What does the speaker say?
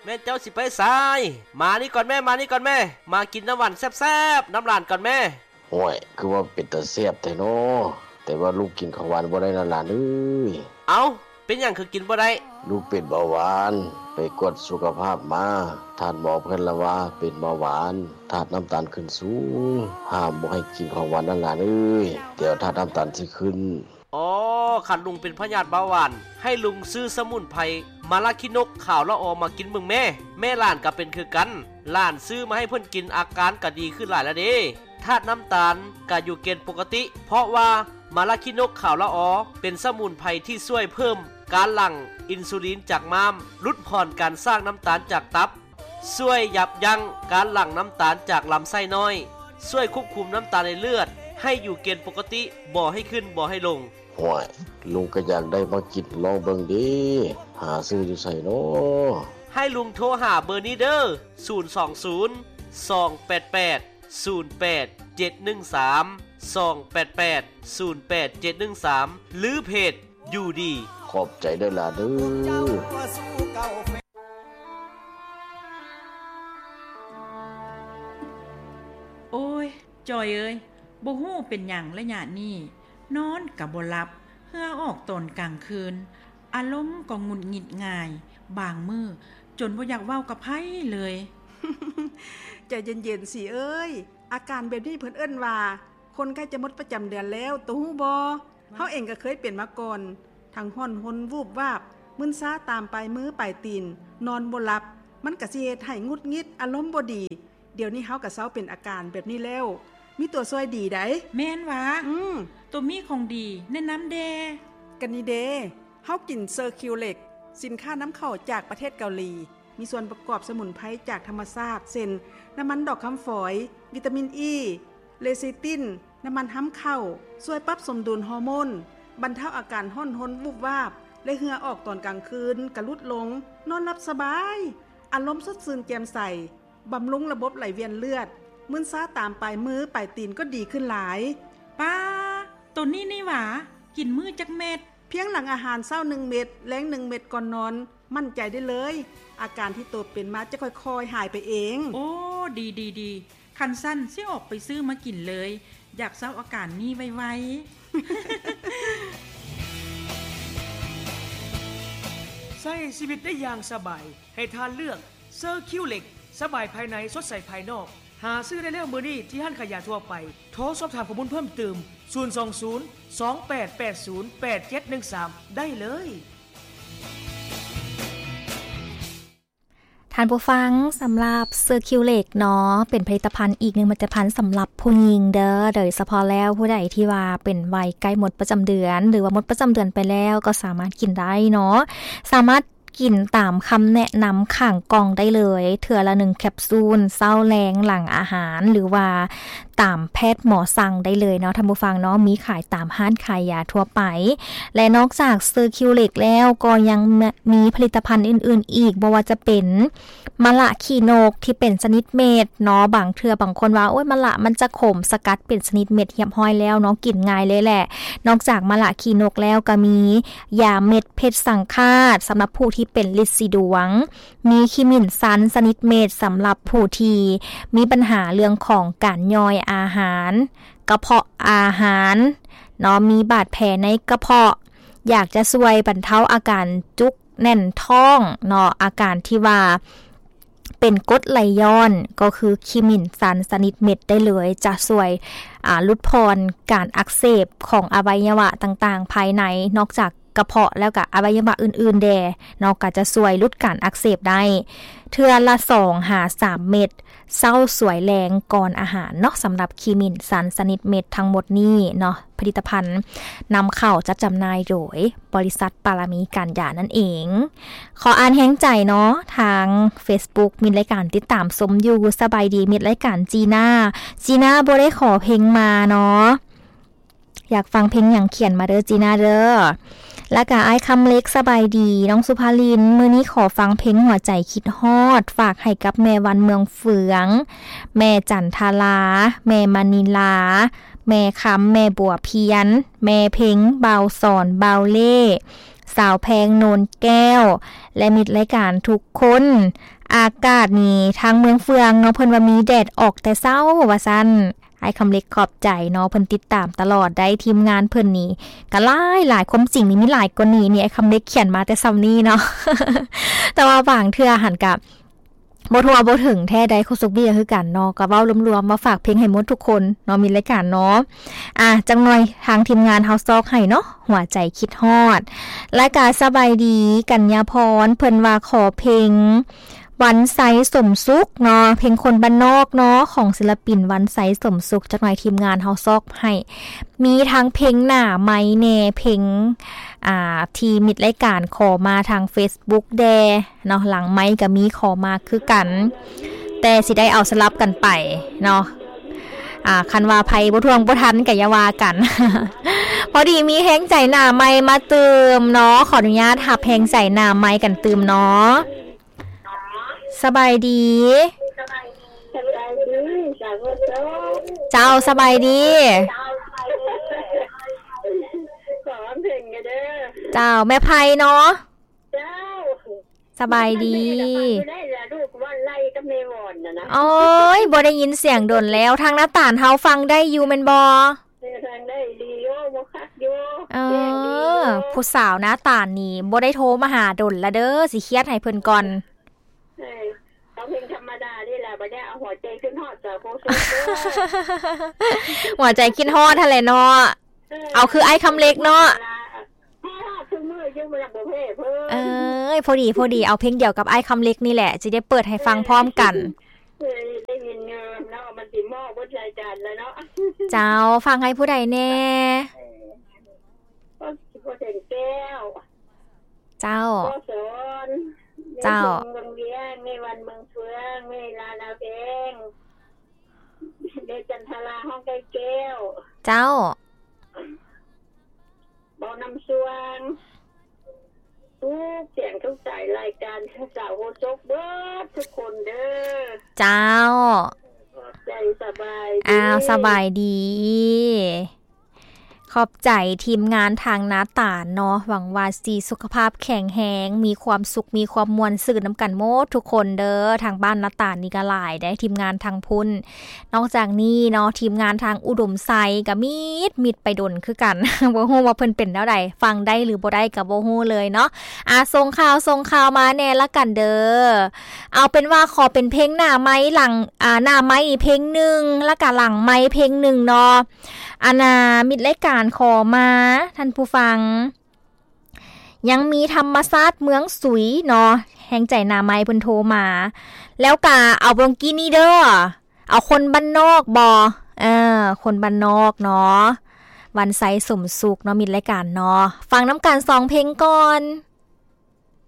ແມ່ນເຈົ້າຊິໄປໃສ? ມານີ້ກ່ອນແມ້ ມານີ້ກ່ອນແມ້ ມາກິນນ້ຳຫວານແຊບໆນຳຫຼານກ່ອນແມ້. ໂອ້ຍ ຄືວ່າເປັນຕາແຊບແທ້ນໍ, ແຕ່ວ່າລູກກິນຂອງຫວານບໍ່ໄດ້ນະຫຼານເອີຍ. ເອົ້າ ເປັນຫຍັງຄືກິນບໍ່ໄດ້? ລູກເປັນເບົາຫວານ, ໄປກວດສຸຂະພາບມາ, ທ່ານໝໍເພິ່ນລະວ່າເປັນເບົາຫວານ, ທາດນ້ຳຕານຂຶ້ນສູງ, ຫ້າມບໍ່ໃຫ້ກິນຂອງຫວານນະຫຼານເອີຍ, ດຽວທາດນ້ຳຕານຊິຂຶ້ນ. ອໍ ຄັນລຸງເປັນພະຍາດເບົາຫວານ ໃຫ້ລຸງຊື້ສະໝຸນໄພມາລາຂີ້ນົກຂາວລະອໍມາກິນເບິ່ງແມ້. ແມ່ຫຼານກະເປັນຄືກັນ, ຫຼານຊື້ມາໃຫ້ເພິ່ນກິນ ອາການກະດີຂຶ້ນຫຼາຍລະເດ້. ທາດນ້ຳຕານກະຢູ່ເກນປົກກະຕິ ເພາະວ່າມາລາຂີ້ນົກຂາວລະອໍເປັນສະໝຸນໄພທີ່ຊ່ວຍເພີ່ມການຫຼັ່ງອິນຊູລິນຈາກມ້າມ, ຫຼຸດຜ່ອນການສ້າງນ້ຳຕານຈາກຕັບ, ຊ່ວຍຢັບຢັ້ງການຫຼັ່ງນ້ຳຕານຈາກລຳໄສ້ນ້ອຍ, ຊ່ວຍຄວບຄຸມນ້ຳຕານໃນເລືອດໃຫ້ຢູ່ເກນປົກກະຕິ, ບໍ່ໃຫ້ຂຶ້ນ ບໍ່ໃຫ້ລົງ. ຫ້ວຍ ລຸງກະຢາກໄດ້ມາກິນລອງເບິ່ງເດ, ຫາຊື້ຢູ່ໃສນໍ? ໃຫ້ລຸງໂທຫາເບີນີ້ເດີ, ສູນສອງສູນ ສອງແປດແປດ ສູນແປດເຈັດໜຶ່ງສາມ ສອງແປດແປດ ສູນແປດເຈັດໜຶ່ງສາມ ຫຼື ເພຈ ຢູ່ດີ. ຂອບໃຈເດີຫຼ້າເດີ. ໂອ້ຍ ຈອຍເອີຍ, ບໍ່ຮູ້ເປັນຫຍັງໄລຍະນີ້ ນອນກະບໍ່ຫຼັບ, ເຫື່ອອອກຕອນກາງຄືນ, ອາລົມກໍຫງຸດຫງິດງ່າຍ, ບາງມື້ຈົນບໍ່ຢາກເວົ້າກັບໃຜເລີຍ. ໃຈເຢັນໆ ສີເອີຍ, ອາການແບບນີ້ເພິ່ນເອີ້ນວ່າ ຄົນໃກ້ຈະໝົດປະຈຳເດືອນແລ້ວ, ໂຕຮູ້ບໍ່? ເຮົາເອງກໍເຄີຍເປັນມາກ່ອນ, ທັງຮ້ອນຮົນວູບວາບ, ມຶນຊາຕາມປາຍມືປາຍຕີນ, ນອນບໍ່ຫຼັບ, ມັນກະຊິເຮັດໃຫ້ຫງຸດຫງິດ, ອາລົມບໍ່ດີ. ດຽວນີ້ເຮົາກະເຊົາເປັນອາການແບບນີ້ແລ້ວ, ມີຕົວຊ່ວຍດີໃດ໋. ແມ່ນຫວາ? ອືມ. ໂຕມີຂອງດີແນະນຳແດ່. ກະນີ້ເດ, ເຮົາກິນເຊີຄິວເລັກ, ສິນຄ້ານຳເຂົ້າຈາກປະເທດເກົາຫຼີ, ມີສ່ວນປະກອບສະໝຸນໄພຈາກທຳມະຊາດ ເຊັ່ນ ນ້ຳມັນດອກຄຳຝອຍ, ວິຕາມິນອີ, ເລຊິຕິນ, ນ້ຳມັນຮຳເຂົ້າ, ຊ່ວຍປັບສົມດຸນຮໍໂມນ, ບັນເທົາອາການຮ້ອນຮົນວູບວາບ ແລະ ເຫື່ອອອກຕອນກາງຄືນກະຫຼຸດລົງ, ນອນຫຼັບສະບາຍ, ອາລົມສົດຊື່ນແຈ່ມໃສ, ບຳລຸງລະບົບໄຫຼວຽນເລືອດ, ມຶນຊາຕາມປາຍມືປາຍຕີນກໍດີຂຶ້ນຫຼາຍ. ປ້າ, ໂຕນີ້ນີ້ຫວາ? ກິນມື້ຈັກເມັດ? ພຽງຫຼັງອາຫານເຊົ້າໜຶ່ງເມັດ, ແລງໜຶ່ງເມັດກ່ອນນອນ, ໝັ້ນໃຈໄດ້ເລີຍ, ອາການທີ່ໂຕເປັນມາຈະຄ່ອຍໆຫາຍໄປເອງ. ໂອ້ ດີໆໆ, ຄັນຊັ້ນຊິອອກໄປຊື້ມາກິນເລີຍ, ຢາກເຊົາອາການນີ້ໄວໆ. ໃຊ້ຊີວິດໄດ້ຢ່າງສະບາຍ, ໃຫ້ທ່ານເລືອກ ເຊີຄິວເລັກ, ສະບາຍພາຍໃນ ສົດໃສພາຍນອກ. ຫາຊື້ໄດ້ແລ້ວມື້ນີ້ທີ່ຮ້ານຂາຍຢາທົ່ວໄປ. ໂທສອບຖາມຂໍ້ມູນເພີ່ມເຕີມ ສູນສອງສູນ ສອງແປດແປດສູນ ແປດເຈັດໜຶ່ງສາມ ໄດ້ເລີຍ. ທ່ານຜູ້ຟັງ, ສຳລັບເຊີຄິວເລັກເນາະ ເປັນຜະລິດຕະພັນອີກໜຶ່ງຜະລິດຕະພັນສຳລັບຜູ້ຍິງເດີ, ໂດຍສະເພາະແລ້ວຜູ້ໃດທີ່ວ່າເປັນໄວໃກ້ໝົດປະຈຳເດືອນ ຫຼືວ່າໝົດປະຈຳເດືອນໄປແລ້ວ ກໍສາມາດກິນໄດ້ເນາະ, ສາມາດ ກິນຕາມຄຳແນະນຳຂ້າງກ່ອງໄດ້ເລີຍ, ເທື່ອລະໜຶ່ງແຄັບຊູນ, ເຊົ້າ, ແລງ, ຫຼັງອາຫານ ຫຼືວ່າຕາມແພດໝໍສັ່ງໄດ້ເລີຍເນາະ ທ່ານຜູ້ຟັງເນາະ, ມີຂາຍຕາມຮ້ານຂາຍຢາທົ່ວໄປ. ແລະ ນອກຈາກເຊີຄິວເລັກແລ້ວ ກໍຍັງ ມີຜະລິດຕະພັນອື່ນໆອີກ, ບໍ່ວ່າຈະເປັນມະລະຂີ້ນົກທີ່ເປັນຊະນິດເມັດເນາະ, ບາງເທື່ອບາງຄົນວ່າ ໂອ້ຍ ມະລະມັນຈະຂົມ, ສະກັດເປັນຊະນິດເມັດຮຽບຮ້ອຍແລ້ວເນາະ, ກິນງ່າຍເລີຍແຫຼະ. ນອກຈາກມະລະຂີ້ນົກແລ້ວ ກໍມີ ຢາເມັດເພັດສັງຄາດ ສຳລັບຜູ້ທີ່ເປັນລິດສີດວງ, ມີຂີ້ໝິ່ນຊັນຊະນິດເມັດ ສຳລັບຜູ້ທີ່ມີບັນຫາເລື່ອງຂອງການຍ່ອຍອາຫານ, ກະເພາະອາຫານເນາະ, ມີບາດແຜໃນກະເພາະ, ຢາກຈະຊ່ວຍບັນເທົາອາການຈຸກແໜ້ນທ້ອງເນາະ, ອາການທີ່ວ່າ ເປັນກົດໄຫຼຍ້ອນ ກໍຄືຂີ້ໝິ່ນຊັນຊະນິດເມັດໄດ້ເລີຍ, ຈະຊ່ວຍ ອາ ຫຼຸດຜ່ອນການອັກເສບຂອງອະໄວຍະວະຕ່າງໆພາຍໃນ, ນອກຈາກກະເພາະແລ້ວກະອະໄວຍະວະອື່ນໆແດ່ເນາະ, ກະຈະຊ່ວຍຫຼຸດການອັກເສບໄດ້. ເທື່ອລະສອງຫາສາມເມັດ, ເຊົ້າສວຍແລງກ່ອນອາຫານເນາະ, ສຳລັບຂີ້ໝິ່ນຊັນຊະນິດເມັດທັງໝົດນີ້ເນາະ. ຜະລິດຕະພັນນຳເຂົ້າຈັດຈຳໜ່າຍໂດຍບໍລິສັດປາລະມີການຢານັ້ນເອງ. ຂໍອ່ານແຮງໃຈເນາະ ທາງເຟສບຸກ ມິດລາຍການຕິດຕາມຊົມຢູ່. ສະບາຍດີ ມິດລາຍການຈີນາ, ຈີນາບໍ່ໄດ້ຂໍເພງມາເນາະ, ຢາກຟັງເພງຫຍັງຂຽນມາເດີ ຈີນາເດີ. ແລ້ວກະອ້າຍຄຳເລັກ ສະບາຍດີ ນ້ອງສຸພາລິນ, ມື້ນີ້ຂໍຟັງເພງຫົວໃຈຄິດຮອດ ຝາກໃຫ້ກັບແມ່ວັນເມືອງເຟືອງ, ແມ່ຈັນທາລາ, ແມ່ມະນີລາ, ແມ່ຄຳ, ແມ່ບົວພຽນ, ແມ່ເພັງ, ບ່າວສອນ, ບ່າວເລ່, ສາວແພງ ໂນນແກ້ວ ແລະ ມິດລາຍການທຸກຄົນ. ອາກາດນີ້ທາງເມືອງເຟືອງເນາະ ເພິ່ນວ່າມີແດດອອກແຕ່ເຊົ້າວ່າຊັ້ນ. ອ້າຍຄຳເລັກຂອບໃຈເນາະ ເພິ່ນຕິດຕາມຕະຫຼອດໄດ໋ ທີມງານເພິ່ນນີ້ກະຫຼາຍໆ ຄວາມຈິງນີ້ມີຫຼາຍກວ່ານີ້ ນີ້ອ້າຍຄຳເລັກຂຽນມາແຕ່ຊ່ຳນີ້ເນາະ ແຕ່ວ່າບາງເທື່ອຫັ້ນກະ ບໍ່ທົ່ວບໍ່ເຖິງແທ້ໃດ ໂຄສົກເບ້ຍຄືກັນເນາະ ກໍເວົ້າລວມໆ ວ່າຝາກເພງໃຫ້ໝົດທຸກຄົນເນາະ ມີລາຍການເນາະ. ອ່າ ຈັກໜ່ອຍທາງທີມງານເຮົາຊອກໃຫ້ເນາະ ຫົວໃຈຄິດຮອດ. ລະກະສະບາຍດີ ກັນຍາພອນ ເພິ່ນວ່າຂໍເພງວັນໄຊສົມສຸກເນາະ ເພງຄົນບ້ານນອກເນາະ ຂອງສິລະປິນວັນໄຊສົມສຸກ. ຈັກໜ່ອຍທີມງານເຮົາຊອກໃຫ້ ມີທັງເພງໜ້າໄມແດ່ ເພງ ອ່າ ທີ່ມິດລາຍການຂໍມາທາງເຟສບຸກແດ່ ເນາະ ຫຼັງໄມກະມີຂໍມາຄືກັນ ແຕ່ຊິໄດ້ເອົາສະຫຼັບກັນໄປເນາະ. ອ່າ ຄັນວ່າໃຜບໍ່ທ່ວງບໍ່ທັນກະຢ່າວ່າກັນ ພໍດີມີແຮງໃຈໜ້າໄມມາຕື່ມເນາະ ຂໍອະນຸຍາດຮັບແຮງໃຈໜ້າໄມກັນຕື່ມເນາະ. ສະບາຍດີ ສະບາຍດີ ສາວໂຄສົກ ເຈົ້າ ສະບາຍດີ ຂໍເພງແດ່ເດີ ເຈົ້າ ແມ່ໄພເນາະ. ເຈົ້າ ສະບາຍດີ ໄດ້ລະລູກ ວ່າໄລ່ກັບແມ່ວອນນະນະ. ໂອ້ຍ ບໍ່ໄດ້ຍິນສຽງດົນແລ້ວ. ທາງໜ້າຕານເຮົາຟັງໄດ້ຢູ່ແມ່ນບໍ່? ເອີ ຟັງໄດ້ດີຢູ່ ບໍ່ຄັກຢູ່ ເອີ ແຈ້ງດີຢູ່. ຜູ້ສາວໜ້າຕານນີ້ບໍ່ໄດ້ໂທມາຫາດົນລະເດີ ຊິຄຽດໃຫ້ເພິ່ນກ່ອນ. ເອີ ເອົາເພງທຳມະດານີ້ລະ ບັດນີ້ເອົາຫົວໃຈຂຶ້ນຮອດສາວໂຄສົກເດີ ຫົວໃຈຄິດຮອດຫັ້ນແຫຼະເນາະ. ເອີ ເອົາຄືອ້າຍຄຳເລັກເນາະ ຮອດທຸກມື້ຢູ່ ບໍ່ຢາກບໍ່ແພ້ເພິ່ນ. ເອີຍ ພໍດີ ພໍດີ ເອົາເພງດຽວກັບອ້າຍຄຳເລັກນີ້ແຫຼະ ຊິໄດ້ເປີດໃຫ້ຟັງພ້ອມກັນ. ເອີ ໄດ້ຍິນຢູ່ເນາະ ມັນຊິເໝາະເບິດລາຍການແລ້ວເນາະ. ເຈົ້າ ຟັງໃຫ້ຜູ້ໃດແດ່? ເອີ ພໍ່ແສງແກ້ວ ເຈົ້າ ພໍ່ສອນ ເຈົ້າ ແມ່ເພິ່ງວັງວຽງ ແມ່ວັນເມືອງເຟືອງ ແມ່ລານາແພງ ແມ່ຈັນທະລາ ຫ້ອງໄກ່ແກ້ວ ເຈົ້າ ເບົານ້ຳຊວງ ທຸກສຽງທຸກສາຍລາຍການສາວໂຄສົກເບິດທຸກຄົນເດີ ເຈົ້າ ຂອບໃຈ ສະບາຍດີ ອ້າວ ສະບາຍດີ. ຂອບໃຈທີມງານທາງໜ້າຕານເນາະ ຫວັງວ່າຊິສຸຂະພາບແຂງແຮງ ມີຄວາມສຸກ ມີຄວາມມ່ວນຊື່ນນຳກັນໝົດທຸກຄົນເດີ. ທາງບ້ານໜ້າຕານນີ້ກະຫຼາຍເດ້ ທີມງານທາງພຸ້ນ. ນອກຈາກນີ້ເນາະ ທີມງານທາງອຸດົມໄຊກະມິດໆ ໄປດົນຄືກັນ ບໍ່ຮູ້ວ່າເພິ່ນເປັນແນວໃດ ຟັງໄດ້ຫຼືບໍ່ໄດ້ກະບໍ່ຮູ້ເລີຍເນາະ. ອ່າ ສົ່ງຂ່າວ ສົ່ງຂ່າວມາແດ່ລະກັນເດີ. ເອົາເປັນວ່າຂໍເປັນເພງໜ້າໄມຫຼັງ ອ່າ ໜ້າໄມອີກເພງໜຶ່ງ ລະກະຫຼັງໄມເພງໜຶ່ງເນາະ. ອັນນ່າ ມິດລາຍການຂໍມາ ທ່ານຜູ້ຟັງ ຍັງມີທຳມະຊາດເມືອງສຸຍເນາະ ແຮງໃຈໜ້າໄມເພິ່ນໂທມາ. ແລ້ວກະເອົາເມື່ອກີ້ນີ້ເດີ ເອົາຄົນບ້ານນອກບໍ? ເອີ ຄົນບ້ານນອກເນາະ ວັນໄຊສົມສຸກເນາະ ມິດລາຍການເນາະ. ຟັງນຳກັນສອງເພງກ່ອນ.